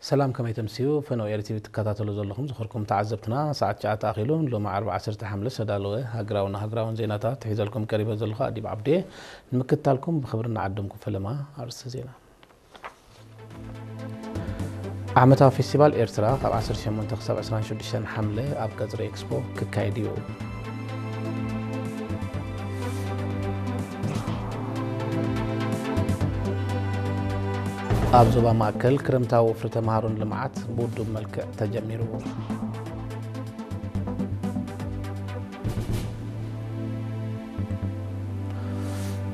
ሰላም፣ ከመይ ተምስዩ? ፈነው ኤሪ ቲቪ ትከታተሉ ዘለኹም ዝኸርኩም ተዓዘብትና፣ ሰዓት ትሽዓተ ኣኺሉ፣ ሎሚ ዓርቢ ዓሰርተ ሓምለ ዝተዳለወ ሃገራውን ሃገራውን ዜናታት ሒዘልኩም ቀሪበ ዘለኹ ኣዲብ ዓብዴ። ንምክትታልኩም ብኽብሪ እናዓደምኩ ፈለማ ኣርእስተ ዜና። ዓመታዊ ፌስቲቫል ኤርትራ ካብ ዓሰርተ ሸሞንተ ክሳብ ዕስራን ሽዱሽተን ሓምለ ኣብ ቀጽሪ ኤክስፖ ክካየድ እዩ። ኣብ ዞባ ማእከል ክረምታዊ ወፍሪ ተምሃሮን ልምዓት ብውዱብ መልክዕ ተጀሚሩ።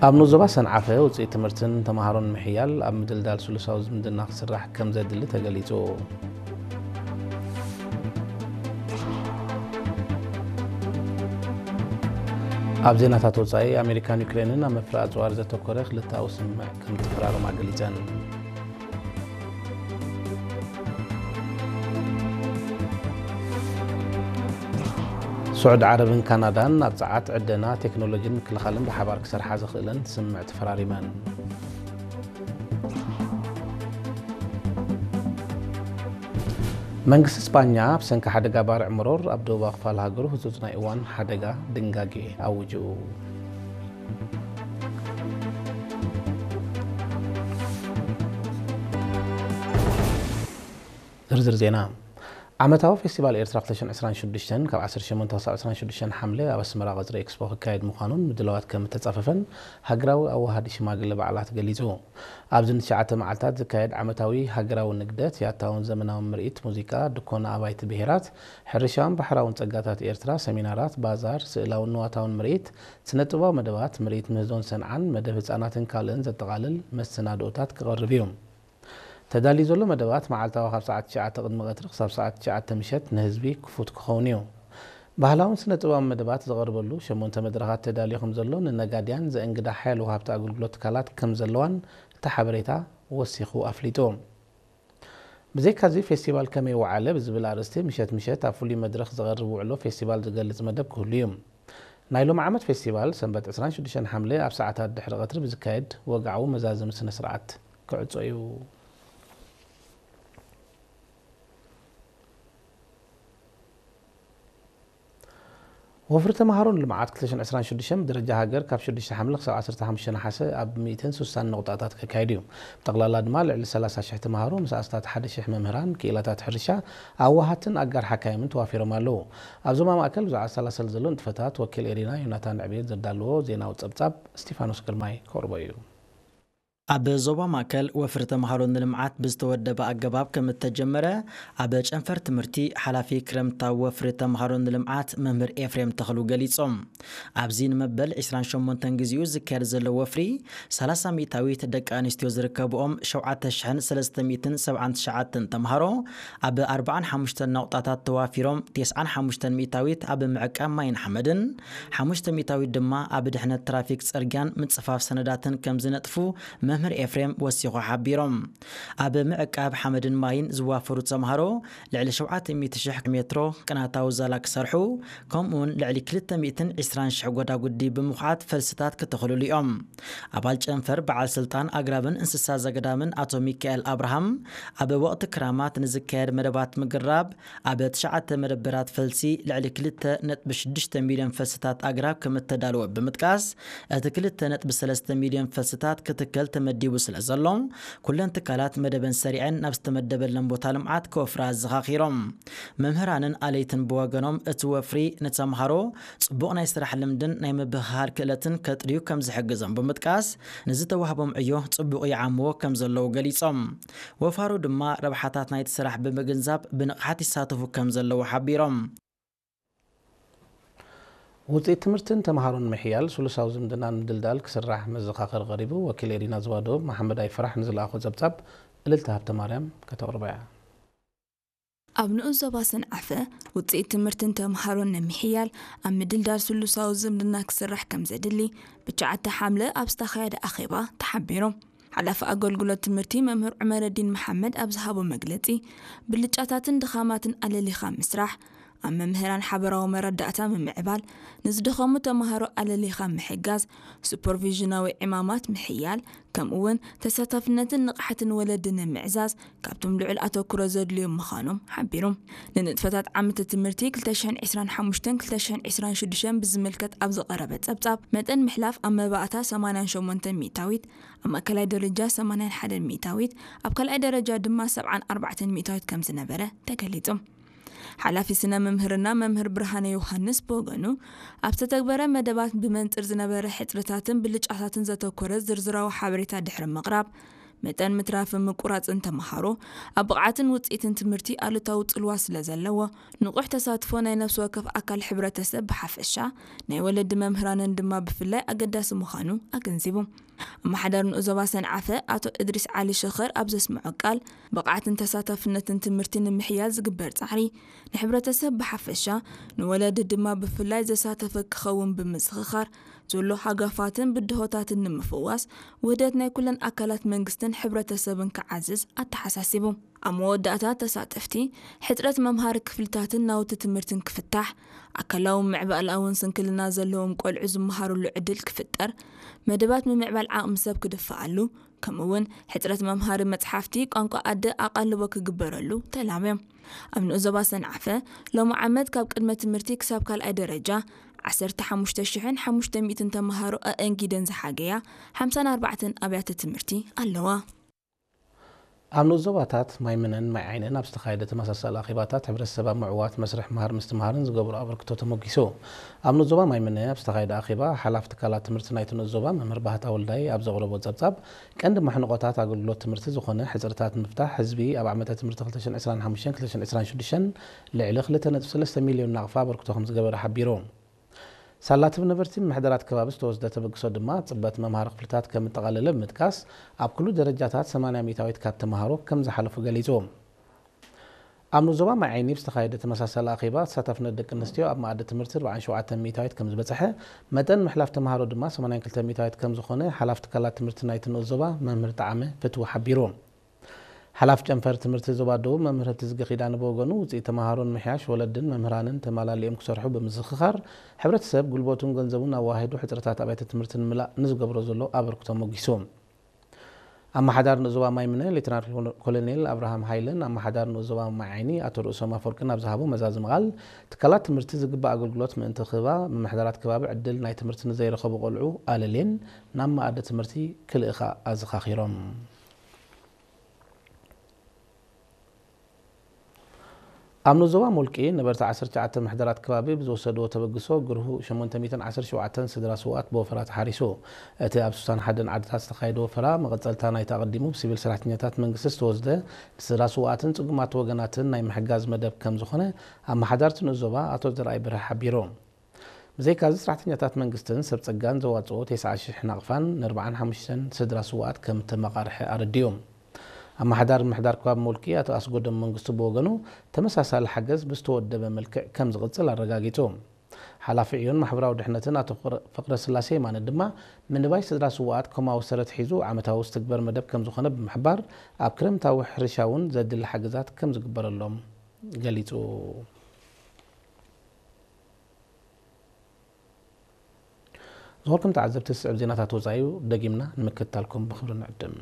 ኣብ ንኡስ ዞባ ሰንዓፈ ውፅኢት ትምህርትን ተምሃሮን ምሕያል ኣብ ምድልዳል ስሉሳዊ ዝምድና ክስራሕ ከም ዘድሊ ተገሊጹ። ኣብ ዜናታት ወጻኢ፣ ኣሜሪካን ዩክሬንን ኣብ ምፍራይ ኣጽዋር ዘተኮረ ክልተኣዊ ስምምዕ ከም ተፈራረማ ገሊጸን። ስዑድ ዓረብን ካናዳን ኣብ ጸዓት፣ ዕደና፣ ቴክኖሎጂን ምክልኻልን ብሓባር ክሰርሓ ዘኽእለን ስምምዕ ተፈራሪመን። መንግስቲ ስጳኛ ብሰንኪ ሓደጋ ባርዕ መሮር ኣብ ደቡባዊ ክፋል ሃገሩ ህጹጽ ናይ እዋን ሓደጋ ድንጋጌ ኣዊጁ። ዝርዝር ዜና። ዓመታዊ ፌስቲቫል ኤርትራ ክልተ ሽሕን ዕስራን ሽዱሽተን ካብ ዓሰርተ ሸሞንተ ክሳብ ዕስራን ሽዱሽተን ሓምለ ኣብ ኣስመራ ቀጽሪ ኤክስፖ ክካየድ ምዃኑን ምድላዋት ከም እተጻፈፈን ሃገራዊ ኣወሃሃዲ ሽማግለ በዓላት ገሊጹ። ኣብዚ ንትሽዓተ መዓልታት ዝካየድ ዓመታዊ ሃገራዊ ንግደት፣ ያታውን ዘመናውን ምርኢት ሙዚቃ፣ ድኮና ኣባይቲ ብሄራት፣ ሕርሻውን ባሕራውን ጸጋታት ኤርትራ፣ ሰሚናራት፣ ባዛር፣ ስእላውን ንዋታውን ምርኢት፣ ስነ-ጥበባዊ መደባት፣ ምርኢት ምህዞን ሰንዓን፣ መደብ ህጻናትን ካልእን ዘጠቓልል መሰናድኦታት ክቐርብ እዩ። ተዳልዩ ዘሎ መደባት መዓልታዊ ካብ ሰዓት ትሽዓተ ቅድሚ ቀትሪ ክሳብ ሰዓት ትሽዓተ ምሸት ንህዝቢ ክፉት ክኸውን እዩ። ባህላውን ስነ-ጥበባዊ መደባት ዝቐርበሉ ሸሞንተ መድረኻት ተዳልዩ ከም ዘሎ ንነጋድያን ዘእንግዳ ሓያል ወሃብቲ ኣገልግሎት ትካላት ከም ዘለዋን እቲ ሓበሬታ ወሲኹ ኣፍሊጡ። ብዘይካዚ ፌስቲቫል ከመይ ወዓለ ብዝብል ኣርእስቲ ምሸት ምሸት ኣብ ፍሉይ መድረኽ ዝቐርብ ውዕሎ ፌስቲቫል ዝገልጽ መደብ ክህሉ እዩ። ናይ ሎሚ ዓመት ፌስቲቫል ሰንበት ዕስራን ሽዱሽተን ሓምለ ኣብ ሰዓታት ድሕሪ ቀትሪ ብዝካየድ ወግዓዊ መዛዘሚ ስነ ስርዓት ክዕጾ እዩ። ወፍሪ ተምሃሮን ልምዓት ክልተ ሽሕን ዕስራን ሽዱሽተን ብደረጃ ሃገር ካብ ሽዱሽተ ሓምለ ክሳብ ዓሰርተ ሓሙሽተ ነሓሰ ኣብ ሚእትን ስሳን ነቑጣታት ከካይድ እዩ። ብጠቕላላ ድማ ልዕሊ ሰላሳ ሽሕ ተምሃሮ ምስ ኣስታት ሓደ ሽሕ መምህራን፣ ክኢላታት ሕርሻ፣ ኣዋሃትን ኣጋር ሓካይምን ተዋፊሮም ኣለዉ። ኣብ ዞባ ማእከል ብዛዕባ ዝሰላሰል ዘሎ ንጥፈታት ወኪል ኤሪና ዮናታን ዕቤት ዘዳለዎ ዜናዊ ጸብጻብ እስቲፋኖስ ግርማይ ከቕርቦ እዩ። ኣብ ዞባ ማእከል ወፍሪ ተምሃሮ ንልምዓት ብዝተወደበ ኣገባብ ከም እተጀመረ ኣብ ጨንፈር ትምህርቲ ሓላፊ ክረምታዊ ወፍሪ ተምሃሮ ንልምዓት መምህር ኤፍሬም ተኽሉ ገሊጾም። ኣብዚ ንመበል ዕስራን ሸሞንተን ግዜኡ ዝካየድ ዘሎ ወፍሪ ሰላሳ ሚእታዊት ደቂ ኣንስትዮ ዝርከብኦም ሸውዓተ ሽሕን ሰለስተ ሚእትን ሰብዓን ትሽዓተን ተምሃሮ ኣብ ኣርባዓን ሓሙሽተን ነቑጣታት ተዋፊሮም፣ ተስዓን ሓሙሽተን ሚእታዊት ኣብ ምዕቃብ ማይን ሓመድን፣ ሓሙሽተ ሚእታዊት ድማ ኣብ ድሕነት ትራፊክ፣ ጽርግያን ምጽፋፍ ሰነዳትን ከም ዝነጥፉ መምህር ኤፍሬም ወሲኹ ሓቢሮም። ኣብ ምዕቃብ ሓመድን ማይን ዝዋፈሩ ተምሃሮ ልዕሊ ሸውዓተ ሚእቲ ሽሕ ሜትሮ ቅናታዊ ዛላ ክሰርሑ፣ ከምኡውን ልዕሊ ክልተ ሚእትን ዕስራን ሽሕ ጎዳጉዲ ብምኹዓት ፈልስታት ክተኽልሉ እዮም። ኣባል ጨንፈር በዓል ስልጣን ኣግራብን እንስሳ ዘገዳምን ኣቶ ሚካኤል ኣብርሃም፣ ኣብ ወቕቲ ክራማት ንዝካየድ መደባት ምግራብ ኣብ ትሽዓተ መደበራት ፈልሲ ልዕሊ ክልተ ነጥቢ ሽዱሽተ ሚልዮን ፈልስታት ኣግራብ ከም እተዳለወ ብምጥቃስ፣ እቲ ክልተ ነጥቢ ሰለስተ ሚልዮን ፈልስታት ክትከል ተመዲቡ ስለ ዘሎ፣ ኩለን ትካላት መደበን ሰሪዐን ናብ ዝተመደበለን ቦታ ልምዓት ክወፍራ ኣዘኻኺሮም። መምህራንን ኣለይትን ብወገኖም፣ እቲ ወፍሪ ንተምሃሮ ጽቡቕ ናይ ስራሕ ልምድን ናይ ምብህሃል ክእለትን ከጥርዩ ከም ዝሕግዞም ብምጥቃስ፣ ንዝተዋህቦም ዕዮ ጽቡቕ ይዓምዎ ከም ዘለዉ ገሊጾም። ወፋሩ ድማ ረብሓታት ናይቲ ስራሕ ብምግንዛብ ብንቕሓት ይሳተፉ ከም ዘለዉ ሓቢሮም። ውፅኢት ትምህርትን ተምሃሮን ምሕያል ስሉሳዊ ዝምድናን ምድልዳል ክስራሕ መዘኻኸሪ ቀሪቡ። ወኪል ኤሪና ዞባ ደቡብ መሓመድ ኣይፈራሕ ንዝለኣኾ ጸብጻብ እልልታ ሃብተ ማርያም ከተቕርቦ እያ። ኣብ ንኡስ ዞባ ሰንዓፈ ውፅኢት ትምህርትን ተምሃሮን ንምሕያል ኣብ ምድልዳል ስሉሳዊ ዝምድና ክስራሕ ከም ዘድሊ ብትሽዓተ ሓምለ ኣብ ዝተኻየደ ኣኼባ ተሓቢሩ። ሓላፊ ኣገልግሎት ትምህርቲ መምህር ዑመረዲን መሓመድ ኣብ ዝሃቦ መግለፂ፣ ብልጫታትን ድኻማትን ኣለሊኻ ምስራሕ፣ ኣብ መምህራን ሓበራዊ መረዳእታ ምምዕባል፣ ንዝደኸሙ ተምሃሮ ኣለሊኻ ምሕጋዝ፣ ሱፐርቪዥናዊ ዕማማት ምሕያል፣ ከምኡውን ተሳታፍነትን ንቕሓትን ወለዲ ንምዕዛዝ ካብቶም ልዑል ኣተኩሮ ዘድልዮም ምዃኖም ሓቢሩ። ንንጥፈታት ዓመተ ትምህርቲ ክልተ ሽሕን ዕስራን ሓሙሽተን ክልተ ሽሕን ዕስራን ሽዱሽተን ብዝምልከት ኣብ ዝቐረበ ጸብጻብ፣ መጠን ምሕላፍ ኣብ መባእታ ሰማንያን ሸሞንተን ሚእታዊት፣ ኣብ ማእከላይ ደረጃ ሰማንያን ሓደን ሚእታዊት፣ ኣብ ካልኣይ ደረጃ ድማ ሰብዓን ኣርባዕተን ሚእታዊት ከም ዝነበረ ተገሊጹ። ሓላፊ ስነ መምህርና መምህር ብርሃነ ዮሃንስ ብወገኑ፣ ኣብ ዝተተግበረ መደባት ብመንጽር ዝነበረ ሕጽረታትን ብልጫታትን ዘተኮረ ዝርዝራዊ ሓበሬታ ድሕሪ ምቕራብ፣ መጠን ምትራፍን ምቁራጽን ተምሃሮ ኣብ ብቕዓትን ውጽኢትን ትምህርቲ ኣሉታዊ ጽልዋ ስለ ዘለዎ፣ ንቑሕ ተሳትፎ ናይ ነፍሲ ወከፍ ኣካል ሕብረተሰብ ብሓፈሻ፣ ናይ ወለዲ መምህራንን ድማ ብፍላይ ኣገዳሲ ምዃኑ ኣገንዚቡ። ኣመሓዳሪ ንኡስ ዞባ ሰንዓፈ ኣቶ እድሪስ ዓሊ ሸኸር ኣብ ዘስምዖ ቃል፣ ብቕዓትን ተሳታፍነትን ትምህርቲ ንምሕያል ዝግበር ጻዕሪ፣ ንሕብረተሰብ ብሓፈሻ፣ ንወለዲ ድማ ብፍላይ ዘሳተፈ ክኸውን ብምዝኽኻር፣ ዘሎ ሃጋፋትን ብድሆታትን ንምፍዋስ፣ ውህደት ናይ ኩለን ኣካላት መንግስትን ሕብረተሰብን ክዓዝዝ ኣተሓሳሲቡ። ኣብ መወዳእታ ተሳተፍቲ፣ ሕጽረት መምሃሪ ክፍልታትን ናውቲ ትምህርትን ክፍታሕ፣ ኣካላውን ምዕባለኣውን ስንክልና ዘለዎም ቆልዑ ዝመሃሩሉ ዕድል ክፍጠር፣ መደባት ምምዕባል ዓቕሚ ሰብ ክድፈኣሉ፣ ከምኡውን ሕጽረት መምሃሪ መጽሓፍቲ ቋንቋ ኣደ ኣቓልቦ ክግበረሉ ተላብዮም። ኣብ ንኡስ ዞባ ሰንዓፈ፣ ሎሚ ዓመት ካብ ቅድመ ትምህርቲ ክሳብ ካልኣይ ደረጃ ዓሰርተ ሓሙሽተ ሽሕን ሓሙሽተ ሚእትን ተምሃሮ ኣእንጊደን ዝሓገያ ሓምሳን ኣርባዕተን ኣብያተ ትምህርቲ ኣለዋ። ኣብ ንኡስ ዞባታት ማይምነን ማይ ዓይንን ኣብ ዝተኻየደ ተመሳሳሊ ኣኼባታት፣ ሕብረተሰብ ኣብ ምዕዋት መስርሕ ምሃር ምስትምሃርን ዝገብሮ ኣበርክቶ ተሞጊሱ። ኣብ ንኡስ ዞባ ማይምነ ኣብ ዝተኻየደ ኣኼባ፣ ሓላፊ ትካላት ትምህርቲ ናይቲ ንኡስ ዞባ መምህር ባህታ ወልዳይ ኣብ ዘቕረቦ ጸብጻብ፣ ቀንዲ ማሕንቖታት ኣገልግሎት ትምህርቲ ዝኾነ ሕጽርታት ንምፍታሕ፣ ህዝቢ ኣብ ዓመተ ትምህርቲ ክልተ ሽሕን ዕስራን ሓሙሽተን ክልተ ሽሕን ዕስራን ሽዱሽተን ልዕሊ ክልተ ነጥቢ ሰለስተ ሚልዮን ናቕፋ ኣበርክቶ ከም ዝገበረ ሓቢሩ። ሳላ ትብ ነበርቲ ምምሕዳራት ከባቢ ዝተወስደ ተበግሶ ድማ፣ ጽበት መምሃሪ ክፍልታት ከም እጠቓለለ ብምጥቃስ፣ ኣብ ኩሉ ደረጃታት ሰማንያ ሚእታዊት ካብ ተምሃሮ ከም ዝሓለፉ ገሊጹ። ኣብ ንኡስ ዞባ ማይ ዓይኒ ብዝተኻየደ ተመሳሳሊ ኣኼባ፣ ተሳታፍነት ደቂ ኣንስትዮ ኣብ መኣዲ ትምህርቲ ኣርባዓን ሸውዓተን ሚእታዊት ከም ዝበጽሐ፣ መጠን ምሕላፍ ተምሃሮ ድማ ሰማንያን ክልተ ሚእታዊት ከም ዝኾነ ሓላፊ ትካላት ትምህርቲ ናይቲ ንኡስ ዞባ መምህር ጠዓመ ፍትዊ ሓቢሩ። ሓላፊ ጨንፈር ትምህርቲ ዞባ ደቡብ መምህር ህብትዝጊ ኪዳነ ብወገኑ፣ ውጽኢት ተምሃሮ ንምሕያሽ ወለድን መምህራንን ተማላሊኦም ክሰርሑ ብምዝኽኻር፣ ሕብረተሰብ ጉልበቱን ገንዘቡን ኣዋሂዱ ሕጽረታት ኣብያተ ትምህርቲ ንምላእ ንዝገብሮ ዘሎ ኣበርክቶ ሞጊሱ። ኣመሓዳሪ ንኡስ ዞባ ማይምነ ሌተናል ኮሎኔል ኣብርሃም ሃይለን ኣመሓዳሪ ንኡስ ዞባ ማይ ዓይኒ ኣቶ ርእሶም ኣፈወርቅን ኣብ ዝሃቦ መዛዘሚ ቃል፣ ትካላት ትምህርቲ ዝግባእ ኣገልግሎት ምእንቲ ክህባ፣ ምምሕዳራት ከባቢ ዕድል ናይ ትምህርቲ ንዘይረኸቡ ቆልዑ ኣለልየን ናብ መኣዲ ትምህርቲ ክልእኻ ኣዘኻኺሮም። ኣብ ንኡስ ዞባ ሞልቂ ነበርቲ ዓሰርተ ትሽዓተ ምሕደራት ከባቢ ብዝወሰድዎ ተበግሶ፣ ግርሁ ሸሞንተ ሚእትን ዓሰርተ ሸውዓተን ስድራ ስውኣት ብወፈራ ተሓሪሱ። እቲ ኣብ ስሳን ሓደን ዓድታት ዝተኻየደ ወፈራ፣ መቐጸልታ ናይቲ ኣቐዲሙ ብሲቪል ሰራሕተኛታት መንግስቲ ዝተወስደ፣ ንስድራ ስውኣትን ጽጉማት ወገናትን ናይ ምሕጋዝ መደብ ከም ዝኾነ፣ ኣመሓዳርቲ ንኡስ ዞባ ኣቶ ዘርኣይ በርሀ ሓቢሩ። ብዘይካዚ፣ ሰራሕተኛታት መንግስትን ሰብ ጸጋን ዘዋጽኦ ተስዓ ሽሕ ናቕፋን ንኣርባዓን ሓሙሽተን ስድራ ስውኣት ከም እተመቓርሐ ኣረዲኡ። ኣመሓዳሪ ምምሕዳር ከባቢ ሞልቂ ኣቶ ኣስጎዶም መንግስቱ ብወገኑ፣ ተመሳሳሊ ሓገዝ ብዝተወደበ መልክዕ ከም ዝቕጽል ኣረጋጊጹ። ሓላፊ ዕዮን ማሕበራዊ ድሕነትን ኣቶ ፍቕረ-፣ ፍቕረስላሴ የማነ ድማ፣ ምንባይ ስድራ ስውኣት ኮማዊ ሰረት ሒዙ ዓመታዊ ዝትግበር መደብ ከም ዝኾነ ብምሕባር፣ ኣብ ክረምታዊ ሕርሻ እውን ዘድሊ ሓገዛት ከም ዝግበረሎም ገሊጹ። ዝኾንኩም ተዓዘብቲ፣ ዝስዕብ ዜናታት ወጻኢ እዩ፣ ደጊምና ንምክትታልኩም ብኽብሪ ንዕድም።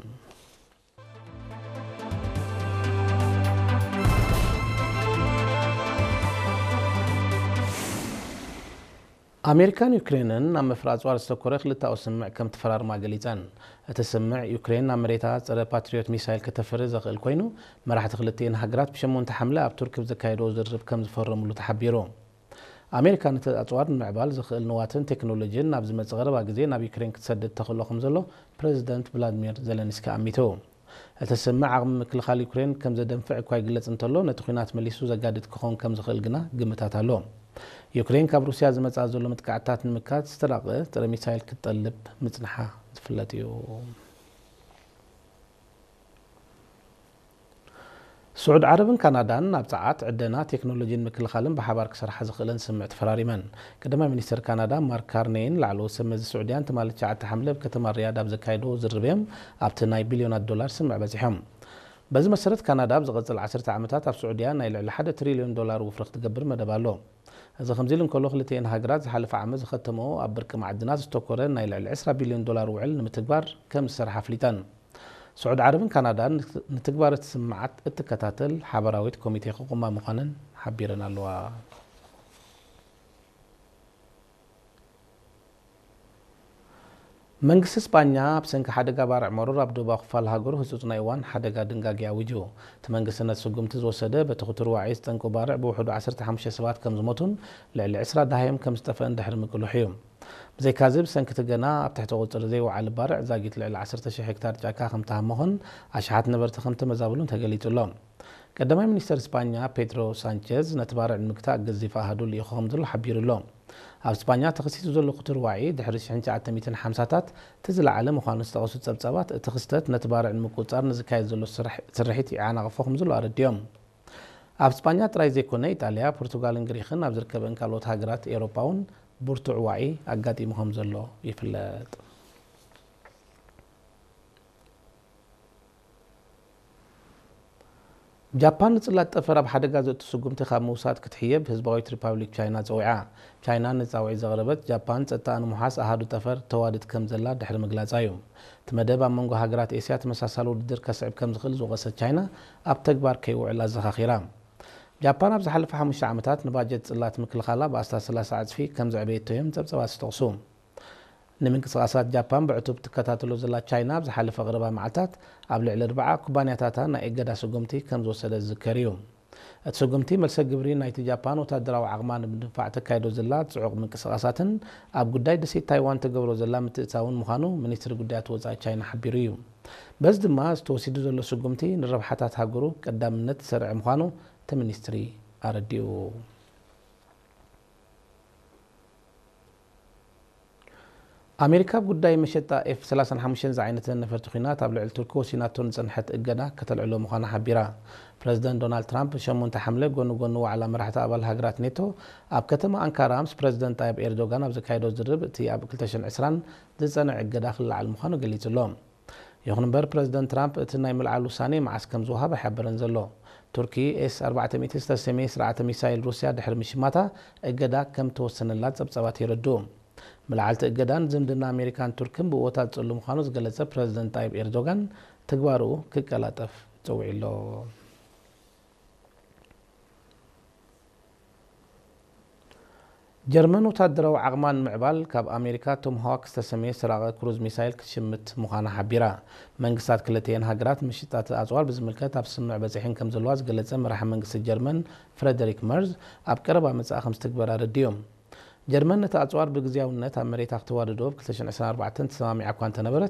ኣሜሪካን ዩክሬንን ኣብ ምፍራይ ኣጽዋር ዝተኮረ ክልተኣዊ ስምምዕ ከም ተፈራርማ ገሊጸን። እቲ ስምምዕ፣ ዩክሬን ናብ መሬታ ጸረ ፓትሪዮት ሚሳይል ከተፍሪ ዘኽእል ኮይኑ፣ መራሕቲ ክልቲኤን ሃገራት ብሸሞንተ ሓምለ ኣብ ቱርክ ብዘካየድዎ ዝርርብ ከም ዝፈረምሉ ተሓቢሩ። ኣሜሪካ ነቲ ኣጽዋር ንምዕባል ዘኽእል ንዋትን ቴክኖሎጂን ኣብ ዝመጽእ ቀረባ ግዜ ናብ ዩክሬን ክትሰድድ ተኽእሎ ከም ዘሎ ፕረዚደንት ቭላድሚር ዘለንስኪ ኣሚቱ። እቲ ስምምዕ ዓቕሚ ምክልኻል ዩክሬን ከም ዘደንፍዕ እኳ ይግለጽ እንተሎ፣ ነቲ ኲናት መሊሱ ዘጋድድ ክኸውን ከም ዝኽእል ግና ግምታት ኣሎ። ዩክሬን ካብ ሩስያ ዝመጽኣ ዘሎ መጥቃዕትታት ንምክታት ዝተራቐ ጸረ ሚሳይል ክትጠልብ ምጽንሓ ዝፍለጥ እዩ። ስዑድ ዓረብን ካናዳን ኣብ ጸዓት፣ ዕደና፣ ቴክኖሎጂን ምክልኻልን ብሓባር ክሰርሓ ዝኽእለን ስምምዕ ተፈራሪመን። ቀዳማይ ሚኒስተር ካናዳ ማርክ ካርኔይን ላዕለዎት ሰብ መዚ ስዑድያን ትማሊ ትሽዓተ ሓምለ ኣብ ከተማ ሪያድ ኣብ ዘካየድዎ ዝርርብ እዮም ኣብቲ ናይ ቢልዮናት ዶላር ስምምዕ በጺሖም። በዚ መሰረት ካናዳ ኣብ ዝቐጽል ዓሰርተ ዓመታት ኣብ ስዑድያ ናይ ልዕሊ ሓደ ትሪልዮን ዶላር ውፍሪ ክትገብር መደብ ኣሎ። እዚ ከምዚ ኢሉ እንከሎ ክልቲኤን ሃገራት ዝሓለፈ ዓመት ዝኸተመኦ ኣብ ብርቂ ማዕድናት ዝተኮረ ናይ ልዕሊ ዕስራ ቢልዮን ዶላር ውዕል ንምትግባር ከም ዝሰርሓ ኣፍሊጠን። ስዑድ ዓረብን ካናዳን ንትግባር እቲ ስምምዓት እትከታተል ሓበራዊት ኮሚቴ ክቑማ ምዃነን ሓቢረን ኣለዋ። መንግስቲ ስጳኛ ኣብ ሰንኪ ሓደጋ ባርዕ መሮር ኣብ ደቡባዊ ክፋል ሃገሩ ህጹጽ ናይ እዋን ሓደጋ ድንጋጌ ኣዊጁ። እቲ መንግስቲ ነቲ ስጉምቲ ዝወሰደ በቲ ክቱር ዋዒ ዝጠንቁ ባርዕ ብውሕዱ ዓሰርተ ሓሙሽተ ሰባት ከም ዝሞቱን ልዕሊ ዕስራ ደሃዮም ከም ዝጠፍአን ድሕሪ ምቅልሑ እዩ። ብዘይካዚ ብሰንኪ እቲ ገና ኣብ ትሕቲ ቁጽሪ ዘይወዓለ ባርዕ ዛጊት ልዕሊ ዓሰርተ ሽሕ ሄክታር ጫካ ከም ተሃመኹን ኣሽሓት ነበርቲ ከም ተመዛበሉን ተገሊጹ ኣሎ። ቀዳማይ ሚኒስተር ስጳኛ ፔድሮ ሳንቸዝ ነቲ ባርዕ ንምግታእ ገዚፍ ኣሃዱ ልኢኹ ከም ዘሎ ሓቢሩ ኣሎ። ኣብ ስጳኛ ተኸሲቱ ዘሎ ክቱር ዋዒ ድሕሪ ሽሕን ትሽዓተ ሚእትን ሓምሳታት እቲ ዝለዓለ ምዃኑ ዝጠቐሱ ጸብጻባት፣ እቲ ክስተት ነቲ ባርዕ ንምቁጽጻር ንዝካየድ ዘሎ ስራሕ-፣ ስርሒት ይዓናቕፎ ከም ዘሎ ኣረዲኦም። ኣብ ስጳኛ ጥራይ ዘይኮነ፣ ኢጣልያ፣ ፖርቱጋልን ግሪኽን ኣብ ዝርከበን ካልኦት ሃገራት ኤውሮጳ እውን ብርቱዕ ዋዒ ኣጋጢሙ ከም ዘሎ ይፍለጥ። ጃፓን ንጽላት ጠፈር ኣብ ሓደጋ ዘእቱ ስጉምቲ ካብ ምውሳድ ክትሕየብ ህዝባዊት ሪፓብሊክ ቻይና ጸዊዓ። ቻይና ንጻውዒት ዘቕረበት፣ ጃፓን ጸጥታኣ ንምውሓስ ኣሃዱ ጠፈር ተዋድድ ከም ዘላ ድሕሪ ምግላጻ እዩ። እቲ መደብ ኣብ መንጎ ሃገራት ኤስያ ተመሳሳሊ ውድድር ከስዕብ ከም ዝኽእል ዝወቐሰት ቻይና፣ ኣብ ተግባር ከይውዕል ኣዘኻኺራ። ጃፓን ኣብ ዝሓለፈ ሓሙሽተ ዓመታት ንባጀት ጽላት ምክልኻላ ብኣስታት ሰላሳ ዕጽፊ ከም ዘዕበየቶ እዮም ጸብጻባት ዝጠቕሱ። ንምንቅስቓሳት ጃፓን ብዕቱብ ትከታተሎ ዘላ ቻይና፣ ኣብ ዝሓለፈ ቀረባ መዓልታት ኣብ ልዕሊ ኣርብዓ ኩባንያታታ ናይ እገዳ ስጉምቲ ከም ዝወሰደት ዝዝከር እዩ። እቲ ስጉምቲ፣ መልሰ ግብሪ ናይቲ ጃፓን ወታደራዊ ዓቕማ ንምድንፋዕ ተካይዶ ዘላ ጽዑቕ ምንቅስቓሳትን ኣብ ጉዳይ ደሴት ታይዋን ተገብሮ ዘላ ምትእትታውን ምዃኑ ሚኒስትሪ ጉዳያት ወጻኢ ቻይና ሓቢሩ እዩ። በዚ ድማ፣ እዚ ተወሲዱ ዘሎ ስጉምቲ ንረብሓታት ሃገሩ ቀዳምነት ዝሰርዐ ምዃኑ እቲ ሚኒስትሪ ኣረዲኡ። ኣሜሪካ፣ ኣብ ጉዳይ መሸጣ ኤፍ ሰላሳን ሓሙሽተን ዝዓይነተን ነፈርቲ ኲናት ኣብ ልዕሊ ቱርኪ ወሲናቶ ዝጸንሐት እገዳ ከተልዕሎ ምዃና ሓቢራ። ፕረዚደንት ዶናልድ ትራምፕ፣ ሸሞንተ ሓምለ፣ ጎኒ ጎኒ ዋዕላ መራሕቲ ኣባል ሃገራት ኔቶ፣ ኣብ ከተማ ኣንካራ ምስ ፕረዚደንት ጣይብ ኤርዶጋን ኣብ ዘካየዶ ዝርርብ፣ እቲ ኣብ ክልተ ሽሕን ዕስራን ዝጸንዐ እገዳ ክለዓል ምዃኑ ገሊጹ ኣሎ። ይኹን እምበር፣ ፕረዚደንት ትራምፕ እቲ ናይ ምልዓል ውሳኔ መዓስ ከም ዝወሃብ ኣይሓበረን ዘሎ። ቱርኪ፣ ኤስ ኣርባዕተ ሚእቲ ዝተሰምየ ስርዓተ ሚሳይል ሩስያ ድሕሪ ምሽማታ፣ እገዳ ከም ተወሰነላ ጸብጻባት የረድኡ። ምልዓል እቲ እገዳን ዝምድና ኣሜሪካን ቱርክን ብእወታት ጽሉ ምዃኑ ዝገለጸ ፕረዚደንት ጣይብ ኤርዶጋን፣ ተግባርኡ ክቀላጠፍ ጸዊዑ ኣሎ። ጀርመን ወታደራዊ ዓቕማ ንምዕባል፣ ካብ ኣሜሪካ ቶምሃዋክ ዝተሰምየ ሰራቒ ክሩዝ ሚሳይል ክትሽምት ምዃና ሓቢራ። መንግስታት ክልቲኤን ሃገራት ምሽጣት ኣጽዋር ብዝምልከት ኣብ ስምምዕ በጺሐን ከም ዘለዋ ዝገለጸ መራሒ መንግስቲ ጀርመን ፍረደሪክ መርዝ፣ ኣብ ቀረባ መጻኢ ከም ዝትግበር ኣረዲኡ። ጀርመን ነቲ ኣጽዋር ብግዝያውነት ኣብ መሬታ ክተዋድዶ ኣብ ክልተ ሽሕን ዕስራን ኣርባዕተን ተሰማሚዓ እኳ እንተነበረት፣